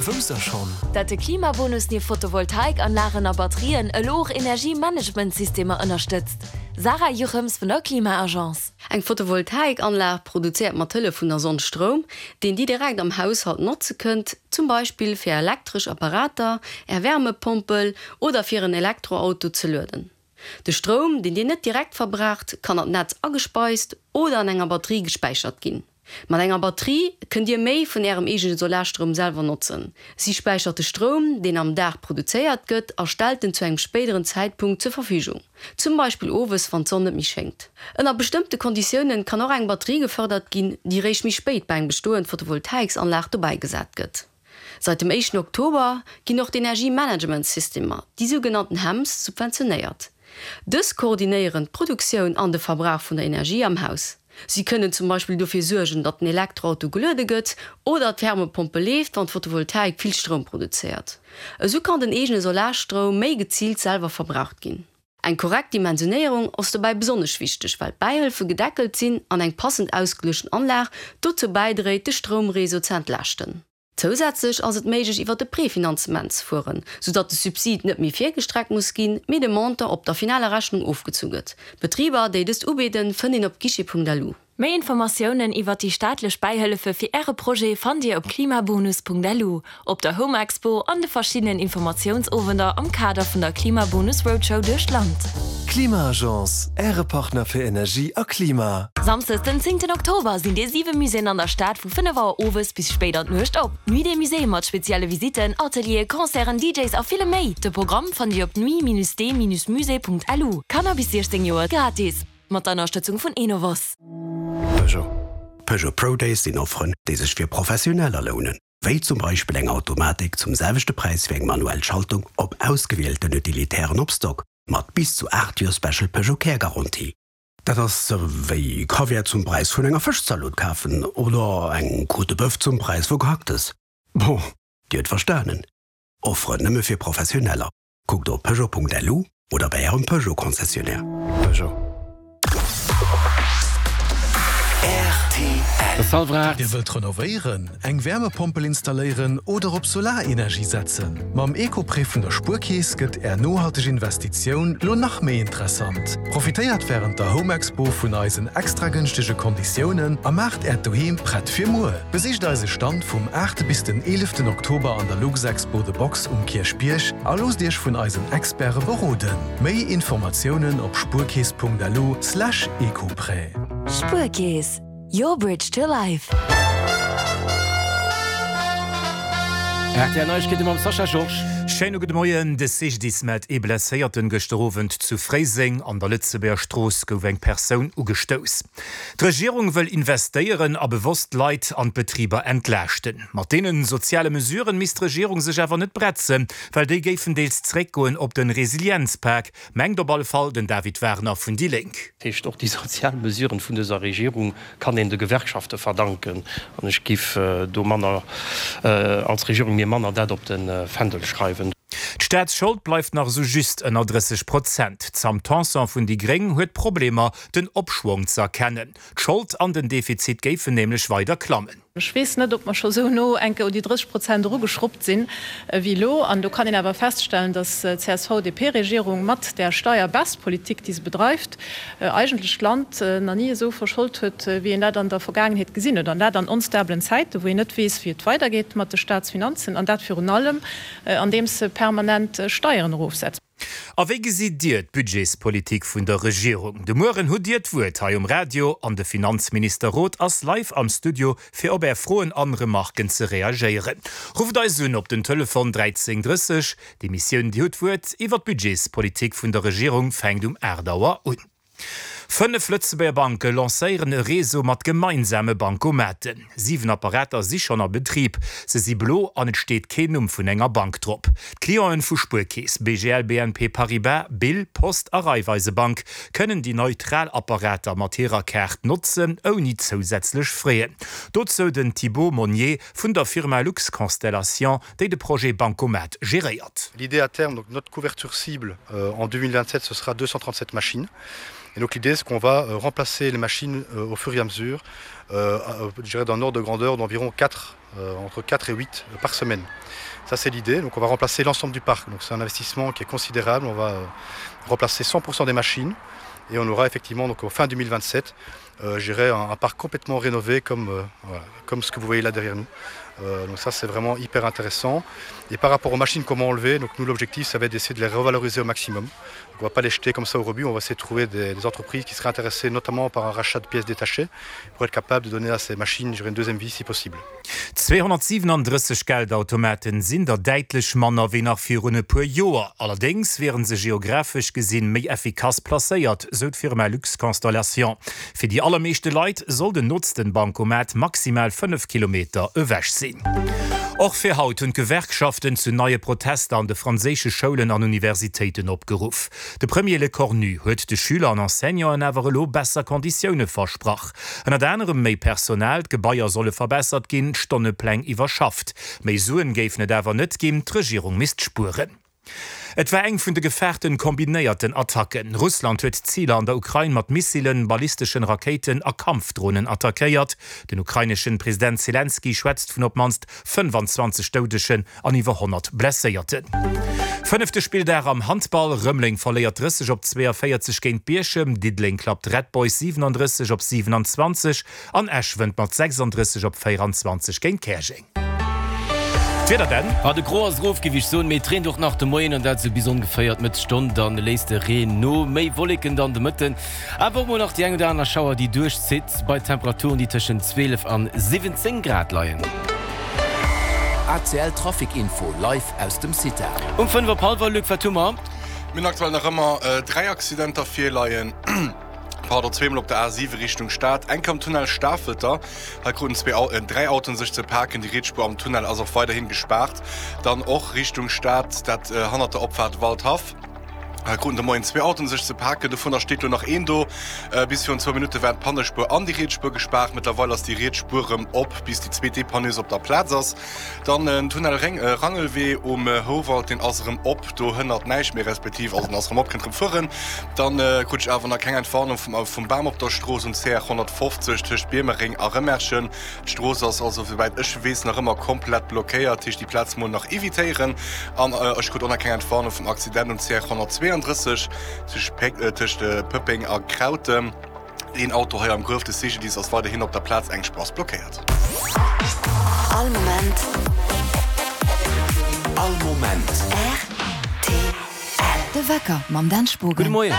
Wousst der schonn? Dat de Klimabonus nieft Photovoltaikanlagen a Batterien elo och Energiemanagementsystemer ënnerstëtzt? Sarah Juchems vun der Klima-Agence. Eng Photovoltaikanlag produzéiert mat Hëllef vun der Sonn Stroum, deen Dir direkt am Haushalt notze kënnt, zum Beispill fir Är elektresch Apparater, Är Wärmepompel oder fir en Elektroauto ze lueden. De Stroum, deen Dir net direkt verbraucht, kann an d'Netz agespeist oder an enger Batterie gespäichert ginn. Mat enger Batterie kënnt Dir méi vun Ärem eegene Solarstroum selwer notzen. Si späichert de Stroum, deen am Dag produzéiert gëtt a stellt en zu engem spéideren Zäitpunkt zur Verfügung, zum Beispill owes, wann d'Sonn net méi schéngt. Ënner bestëmmte Konditiounen kann och eng Batterie gefërdert ginn, déi réischt méi spéit bei eng bestoend Photovoltaiksanlag dobäigesat gëtt. Seit dem éischten Oktober ginn och d'Energiemanagementsystemer, déi sougenannten HEMS, subventionéiert. Dës koordinéieren d'Produktioun an de Verbrauch vun der Energie am Haus. Si kënnen zum Beispill dofir suergen, datt den Elektroauto geluede gëtt oder d'Wärmepompel leeft, wann d'Photovoltaik vill Stroum produzéiert. Esou kann den eegene Solarstroum méi geziilt selwer verbraucht ginn. Eng korrekt Dimensionéierung ass dobäi besonnesch wichteg, well d'Bäihëlfe gedeckelt sinn an eng passend ausgeluechten Anlag dozou bäidréit, de Stroumreseau ze entlaaschten. Zousätzlech ass et méiglech iwwer e Prefinanzement ze fueren, soudatt de Subsid net méi virgestreckt muss ginn, mee de Montant op der finaler Rechnung ofgezu gëtt. D'Betriber, déi dëst ubidden, fënnt een op guichet.lu. Méi Informatiounen iwwert déi staatlech Bäihëllefe fir Äre Projet fannt Dir op klimabonus.lu, op der Home Expo an de verschiddenen Informatiounsowender am Kader vun der Klimabonus Roadshow duerch d'Land. Klima-Agence, Äre Partner fir Energie a Klima. Samsdes den zéngten Oktober sinn déi 7 Muséeën an der Stad vu 5 Auer owes bis spéit an d'Nuecht op. D'Nuit des Musées mat spezielle Visitten, Atelieren, Concerten, DJs a villem méi. De Programm fannt Dir op nuit-des-musées.lu. Kanner bis 16 Joer gratis. Mat der Ënnerstëtzung vun Enovos. Peugeot. Peugeot Pro Days sinn Offeren, déi sech fir Professioneller lounen, wéi zum Beispill eng Automatik zum selwechte Präis wéi eng manuell Schaltung op ausgewielten Utilitären op Stock, mat bis zu 8 Joer Special Peugeot Care Garantie. Dat ass wéi Kaviar zum Präis vun enger Fëschzalot kafen oder eng Côte de Boeuf zum Präis vu Gehacktes. Bon, Dir hutt verstanen, Offeren nëmme fir Professioneller. Kuckt op Peugeot.lu oder bei Ärem Peugeot Concessionnaire. Peugeot. Rtl. Dir wëllt renovéieren, eng Wärmepompel installéieren oder op Solarenergie setzen? Mam Eco-Prêt vun der Spuerkeess gëtt Är nohalteg Investitioun lo nach méi interessant. Profitéiert wärend der Home Expo vun eisen extra gënschtege Konditiounen a maacht Äert Doheem prett fir muer. Besicht eise Stand vum 8 bis den 11 Oktober an der Luxexpo The Box um Kierchbierg a loosst Iech vun eisen Experte beroden. Méi Informatiounen op spuerkeess.lu slash ecoprêt. Spuerkeess, your bridge to life. Rtl Neiegkeete mam Sascha Georges. Schéine gudde Moien. De CGDIS mellt ee Blesséierten gëschter Owend zu Fréiseng. An der Lëtzebuerger Strooss gouf eng Persoun ugestouss. D'Regierung wëll investéieren a bewosst d'Leit an d'Betriber entlaaschten. Mat deene soziale Mesuren misst d'Regierung sech awer net bretzen, well déi géifen deels zréckgoen op de Resilienzpak, mengt op alle Fall den David Wagner vun déi Lénk. Dat heescht, och déi sozial Mesuren vun dëser Regierung kann een de Gewerkschafte verdanken. An ech giff do manner, als Regierung mir manner dat op de Fändel schreiwen. D'Staatsschold bleift nach esou just ënner 30 Prozent. D'Sam Tanson vun déi Gréng huet Problemer, den Opschwong ze erkennen. D'Schold an den Defizit géifen nämlech weider klammen. Ech weess net, ob mer scho sou no enke un déi 30 Prozent erugeschruppt sinn ewéi elo. An do kann een awer feststellen, datt d'CSV-DP-Regierung mat där Steierbaisspolitik, déi se bedreift, eigentlech d'Land nach ni esou verschold huet, wéi een dat an der Vergaangenheet gesinn huet. An dat an onstabelen Zäiten, wou een net weess, wéi et weidergeet mat de Staatsfinanzen. An dat virun allem, andeems se permanent Steieren erofsetzt. A wéi gesitt Dir d'Budgetspolitik vun der Regierung? De Mueren hutt Dir d'Wuert hei um Radio an de Finanzminister Roth ass live am Studio fir op Är Froen an Remarken ze reagéieren. Rufft eis un op den Telefon 13 30. D'Emissioun Dir hutt d'Wuert iwwer d'Budgetspolitik vun der Regierung fänkt um 8 Auer un. 5 Lëtzebuerger Banke lancéieren e Réseau mat gemeinsame Bankomaten. 7 Apparater si schonn a Betrib. Se si blo an et steet keen Numm vun enger Bank drop. D'Clienten vu Spuerkeess, BGL, BNP Paribas, Bill, Post a Raiffeisebank kënnen déi neutral Apparater mat hirer Kaart notzen, ouni zousätzlech Frais. Dozou den Thibaut Monnier vun der Firma Luxconstellation, déi de Projet Bankomat geréiert. L'idée à terme, donc notre couverture cible en 2027, ce sera 237 machines. Et donc l'idée. L'idée, c'est qu'on va euh, remplacer les machines euh, au fur et à mesure, euh, je dirais d'un ordre de grandeur d'environ 4, euh, entre 4 et 8 euh, par semaine. Ça, c'est l'idée. Donc on va remplacer l'ensemble du parc. Donc c'est un investissement qui est considérable. On va euh, remplacer 100% des machines et on aura effectivement donc au fin 2027 euh, j'irai un, un parc complètement rénové comme, euh, voilà, comme ce que vous voyez là derrière nous. Euh, donc ça c'est vraiment hyper intéressant. Et par rapport aux machines qu'on va enlever, donc nous l'objectif ça va être d'essayer de les revaloriser au maximum. Donc, on va pas les jeter comme ça au rebut, on va essayer de trouver des, des entreprises qui seraient intéressées notamment par un rachat de pièces détachées pour être capable de donner à ces machines une deuxième vie si possible. 237 Geldautomaten sinn der däitlech manner wéi nach virun e puer Joer. Allerdéngs wiere se geographesch gesinn méi effikass placéiert, sou d'Firma Luxconstellation. Fir déi allermeeschte Leit soll den nootsten Bancomat maximal 5 Kilometer ewech sinn. Och fir haut hunn d'Gewerkschaften zu neie Protester an de franséische Schoulen an Universitéiten opgeruff. De Premier Lecornu huet de Schüler an Enseignanten awer elo besser Konditioune versprach. Ënnert anerem méi Personal, d'Gebaier solle verbessert ginn, d'Stonnepläng iwwerschafft. Méi Suen géifen et awer net ginn, d'Regierung misst spueren. Et war eng vun de gefaarten kombinéierten Attacken. Russland huet Ziler an der Ukrain mat Missilen, ballisteschen Rakéiten a Kampfdronen attackéiert. Den ukraineschen President Selenskyj schwätzt vun op d'mannst 25 Doudegen an iwwer 100 Blesséierten. Fënnefte Spilldag am Handball, Rëmeleng verléiert 30 op 42 géint Bierchem, Diddeleng klappt Red Boys 37 op 27 an Esch wënnt mat 36 op 24 géint Käerjeng. D'Wieder denn? Ah, de Gros ass erof, géif ech soen, mee et reent och nach de Moien an dat esou bis ongeféier d'Mëttesstonn. Dann léisst de Reen no, méi Wolleken dann de Mëtten, awer och mol nach déi eng oder aner Schauer, déi duerchzitt, bei Temperaturen, déi tëschent 12 an 17 Grad leien. ACL Trafic Info live aus dem CITA. Um 5 op hallwer, Luc, wat hu mer? Mir hunn aktuell nach ëmmer 3 Accidenter virleien. Pardon, zweemol op der A7 Richtung Stad, eng am Tunnel Stafelter. Hei kruten zwee, dräi Autoen sech ze paken. Déi riets Spuer am Tunnel ass och weiderhin gespaart. Dann och Richtung Stad, dat hannert der Opfaart Waldhaff. Hei kruten de Moien zwee Autoen sech ze paken. Dovunner steet lo nach een do. Bis virun zwou Minutte war d'Pannespuer an déi riets Spuer gespaart. Mëttlerweil ass déi riets Spuer rëm op, bis déi zweet Depanneuse op der Plaz ass. Dann den Tunnel Rangelwee um Houwald, deen ass erëm op, do hënnert näischt méi, respektiv also en ass erëm op, kënnt erëm fueren. Dann krut ech awer nach keng Entwarnung vum Bam op der Strooss um CR 150 tëscht Biermereng a Rëmerschen. D'Strooss ass also souwäit ech weess nach ëmmer komplett blockéiert, heescht déi Plaz mol nach evitéieren. An ech krut och nach keng Entwarnung vum Accident um CR 132 tëscht Pëppeng a Krautem. Een Auto hei am Gruef, de CGDIS ass weiderhin op der Plaz, eng Spuer ass blockéiert. All Moment. All Moment. Rtl. De Wecker mam Dan Spogen. Gudde Moien.